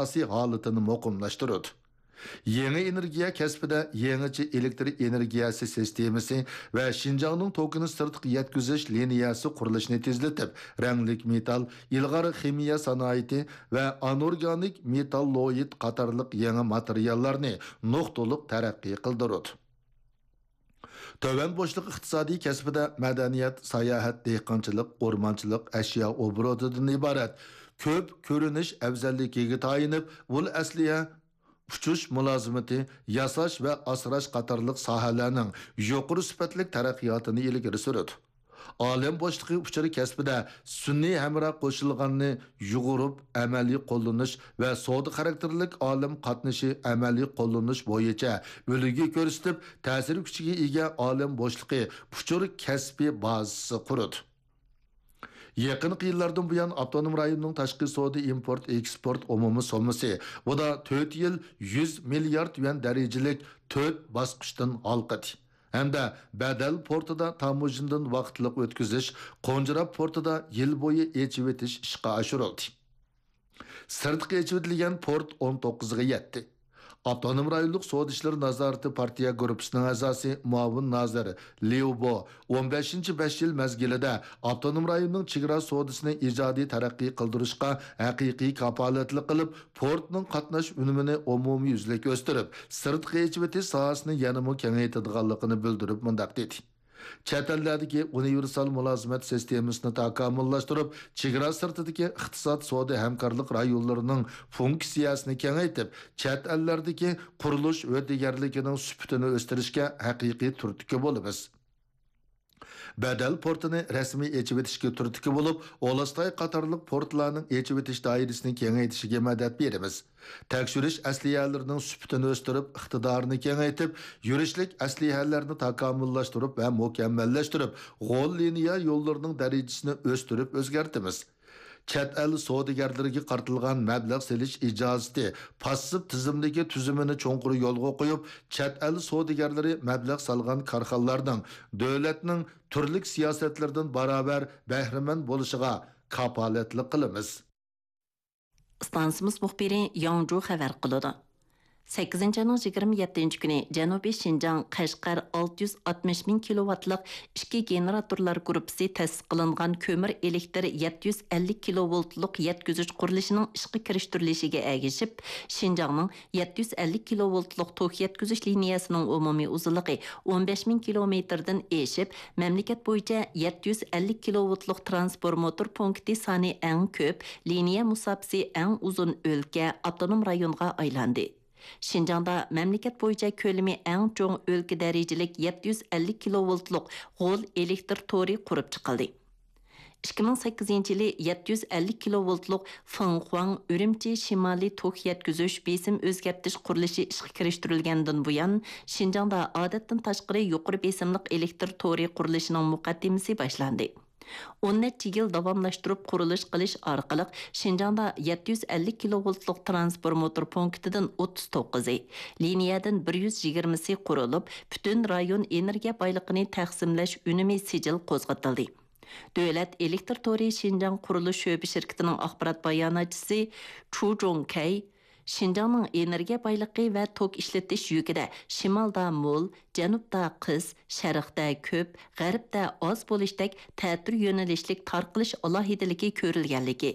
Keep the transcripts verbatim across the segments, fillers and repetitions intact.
ئاساسىي ھالىتىنى مۇقىملاشتۇرىدۇ. يېڭى ئېنېرگىيە كەسپىدە يېڭىچە ئېلېكتر ئېنېرگىيەسى سىستېمىسى ۋە شىنجاڭنىڭ توكىنى سىرتقا يەتكۈزۈش لىنىيەسى قۇرۇلۇشىنى تېزلىتىپ، رەڭلىك مېتال، ئىلغار خىمىيە سانائىتى ۋە ئانورگانىك مېتاللوئىد قاتارلىق يېڭى ماتېرىياللارنى نۇقتىلىق تەرەققىي قىلدۇرىدۇ. تۆۋەن بوشلۇق ئىقتىسادىي كەسپىدە مەدەنىيەت، ساياھەت، دېھقانچىلىق، ئورمانچىلىق، ئەشيا ئوبوروتىدىن ئىبارەت كۆپ كۆرۈنۈش ئەۋزەللىكىگە تايىنىپ، ئۇل ئەسلىھە، ئۇچۇش مۇلازىمىتى، ياساش ۋە ئاسراش قاتارلىق ساھەلەرنىڭ يۇقىرى سۈپەتلىك تەرەققىياتىنى ئىلگىرى سۈرىدۇ. ئالەم بوشلۇقى ئۇچۇرى كەسپىدە سۈنئىي ھەمراھ قوشۇلغاننى يۇغۇرۇپ ئەمەلىي قوللىنىش ۋە سودا خاراكتېرلىك ئالەم قاتنىشى ئەمەلىي قوللىنىش بويىچە ئۈلگە كۆرسىتىپ، تەسىر كۈچىگە ئىگە ئالەم بوشلۇقى ئۇچۇر كەسپىي بازىسى قۇرىدۇ. يېقىنقى يىللاردىن بۇيان، ئاپتونوم رايوننىڭ تاشقى سودا ئىمپورت ئېكسپورت ئومۇمىي سوممىسى، بۇ دا تۆت يىل يۈز مىليارد يۈەن دەرىجىلىك تۆت باسقۇچتىن ھالقىدى ھەمدە بەدەل پورتىدا تاموژنىدىن ۋاقىتلىق ئۆتكۈزۈش، قونجىراپ پورتىدا يىل بويى ئېچىۋېتىش ئىشقا ئاشۇرۇلدى. سىرتقا ئېچىۋېتىلگەن پورت ئون توققۇزغا يەتتى. ئاپتونوم رايونلۇق سودا ئىشلىرى نازارىتى پارتىيە گۇرۇپپىسىنىڭ ئەزاسى، مۇئاۋىن نازىر ليۇ بو ئون بەشىنچى بەش يىل مەزگىلىدە ئاپتونوم رايوننىڭ چېگرا سودىسىنى ئىجادىي تەرەققىي قىلدۇرۇشقا ھەقىقىي كاپالەتلىك قىلىپ، پورتنىڭ قاتناش ئۈنۈمىنى ئومۇميۈزلۈك ئۆستۈرۈپ، سىرتقا ئېچىۋېتىش ساھەسىنى يەنىمۇ كېڭەيتىدىغانلىقىنى بىلدۈرۈپ مۇنداق دېدى: چەت ئەللەردىكى ئۇنىۋېرسال مۇلازىمەت سىستېمىسىنى تاكامۇللاشتۇرۇپ، چېگرا سىرتىدىكى ئىقتىساد سودا ھەمكارلىق رايونلىرىنىڭ فۇنكسىيەسىنى كېڭەيتىپ، چەت ئەللەردىكى قۇرۇلۇش ھۆددىگەرلىكىنىڭ سۈپىتىنى ئۆستۈرۈشكە ھەقىقىي تۈرتكە بولىمىز. بەدەل پورتىنى رەسمىي ئېچىۋېتىشكە تۈرتكە بولۇپ، ئۇلۇستاي قاتارلىق پورتلارنىڭ ئېچىۋېتىش دائىرىسىنى كېڭەيتىشىگە مەدەت بېرىمىز. تەكشۈرۈش ئەسلىھەلىرىنىڭ سۈپىتىنى ئۆستۈرۈپ، ئىقتىدارىنى كېڭەيتىپ، يۈرۈشلۈك ئەسلىھەلەرنى تاكامۇللاشتۇرۇپ ۋە مۇكەممەللەشتۈرۈپ، غول لىنىيە يوللىرىنىڭ دەرىجىسىنى ئۆستۈرۈپ ئۆزگەرتىمىز. چەت ئەل سودىگەرلىرىگە قارىتىلغان مەبلەغ سېلىش ئىجازىتى پاسسىپ تىزىملىكى تۈزۈمىنى چوڭقۇر يولغا قويۇپ، چەت ئەل سودىگەرلىرى مەبلەغ سالغان كارخانىلارنىڭ دۆلەتنىڭ تۈرلۈك سىياسەتلىرىدىن باراۋەر بەھرىمەن بولۇشىغا كاپالەتلىك قىلىمىز. ئىستانسىمىز مۇخبىرى ياڭجۇ خەۋەر قىلىدۇ. سەككىزىنچى ئاينىڭ يىگىرمە يەتتىنچى كۈنى جەنۇبىي شىنجاڭ قەشقەر ئالتە يۈز ئاتمىش مىڭ كىلوۋاتلىق ئىككى گېنېراتورلار گۇرۇپپىسى تەسىس قىلىنغان كۆمۈر ئېلېكتىر يەتتە يۈز ئەللىك كىلوۋولتلۇق يەتكۈزۈش قۇرۇلۇشىنىڭ ئىشقا كىرىشتۈرۈلۈشىگە ئەگىشىپ، شىنجاڭنىڭ يەتتە يۈز ئەللىك كىلوۋولتلۇق توك يەتكۈزۈش لىنىيەسىنىڭ ئومۇمىي ئۇزۇنلۇقى ئون بەش مىڭ كىلومېتىردىن ئېشىپ، مەملىكەت بويىچە يەتتە يۈز ئەللىك كىلوۋولتلۇق ترانسفورماتور پونكىتى سانى ئەڭ كۆپ، لىنىيە مۇساپىسى ئەڭ ئۇزۇن ئۆلكە، ئاپتونوم رايونغا ئايلاندى. شىنجاڭدا مەملىكەت بويىچە كۆلىمى ئەڭ چوڭ ئۆلكە دەرىجىلىك يەتتە يۈز ئەللىك كىلوۋولتلۇق غول ئېلېكتر تورى قۇرۇپ چىقىلدى. ئىككى مىڭ سەككىزىنچى يىلى يەتتە يۈز ئەللىك كىلوۋولتلۇق فېڭخۇاڭ ئۈرۈمچى شىمالىي توك يەتكۈزۈش بېسىم ئۆزگەرتىش قۇرۇلۇشى ئىشقا كىرىشتۈرۈلگەندىن بۇيان، شىنجاڭدا ئادەتتىن تاشقىرى يۇقىرى بېسىملىق ئېلېكتر تورى قۇرۇلۇشىنىڭ مۇقەددىمىسى باشلاندى. ئون نەچچە يىل داۋاملاشتۇرۇپ قۇرۇلۇش قىلىش ئارقىلىق، شىنجاڭدا يەتتە يۈز ئەللىك كىلوۋولتلۇق ترانسفورماتور پونكىتىدىن ئوتتۇز توققۇزى، لىنىيەدىن بىر يۈز يىگىرمىسى قۇرۇلۇپ، پۈتۈن رايون ئېنېرگىيە بايلىقىنى تەقسىملەش ئۈنۈمى سىجىل قوزغىتىلدى. دۆلەت ئېلېكتر تورى شىنجاڭ قۇرۇلۇش شۆبە شىركىتىنىڭ ئاخبارات باياناتچىسى چۇ جۇڭكەي، شىنجاڭنىڭ ئېنېرگىيە بايلىقى ۋە توك ئىشلىتىش يۈكىدە شىمالدا مول، جەنۇبتا قىس، شەرقتە كۆپ، غەربتە ئاز بولۇشتەك تەتۈر يۆنىلىشلىك تارقىلىش ئالاھىدىلىكى كۆرۈلگەنلىكى،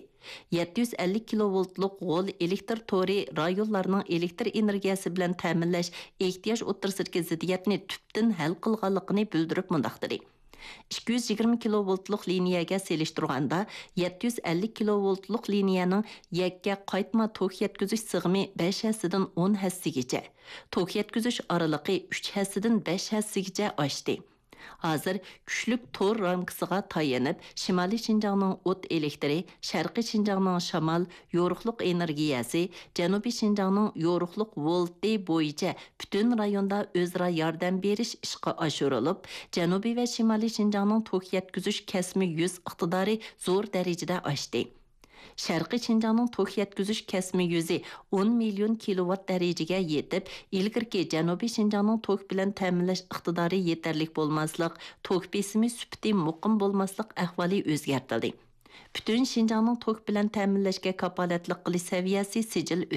يەتتە يۈز ئەللىك كىلوۋولتلۇق غول ئېلېكتر تورى رايونلارنىڭ ئېلېكتر ئېنېرگىيەسى بىلەن تەمىنلەش ئېھتىياج ئوتتۇرىسىدىكى زىددىيەتنى تۈپتىن ھەل قىلغانلىقىنى بىلدۈرۈپ مۇنداق دېدى: ئىككى يۈز يىگىرمە كىلوۋولتلۇق لىنىيەگە سېلىشتۇرغاندا، يەتتە يۈز ئەللىك كىلوۋولتلۇق لىنىيەنىڭ يەككە قايتما توك يەتكۈزۈش سىغىمى بەش ھەسسىدىن ئون ھەسسىگىچە، توك يەتكۈزۈش ئارىلىقى ئۈچ ھەسسىدىن بەش ھەسسىگىچە ئاشتى. ھازىر كۈچلۈك تور رامكىسىغا تايىنىپ، شىمالىي شىنجاڭنىڭ ئوت ئېلېكتىرى، شەرقىي شىنجاڭنىڭ شامال، يورۇقلۇق ئېنېرگىيەسى، جەنۇبىي شىنجاڭنىڭ يورۇقلۇق ۋولتى بويىچە پۈتۈن رايوندا ئۆزئارا ياردەم بېرىش ئىشقا ئاشۇرۇلۇپ، جەنۇبىي ۋە شىمالىي شىنجاڭنىڭ توك يەتكۈزۈش كەسمى يۈز ئىقتىدارى زور دەرىجىدە ئاشتى. شەرقىي شىنجاڭنىڭ توك يەتكۈزۈش كەسمى يۈزى ئون مىليون كىلوۋات دەرىجىگە يېتىپ، ئىلگىرىكى جەنۇبىي شىنجاڭنىڭ توك بىلەن تەمىنلەش ئىقتىدارى يېتەرلىك بولماسلىق، توك بېسىمى سۈپىتى مۇقىم بولماسلىق ئەھۋالى ئۆزگەرتىلدى. پۈتۈن شىنجاڭنىڭ توك بىلەن تەمىنلەشكە كاپالەتلىك قىلىش سەۋىيەسى سىجىل ئۆستى.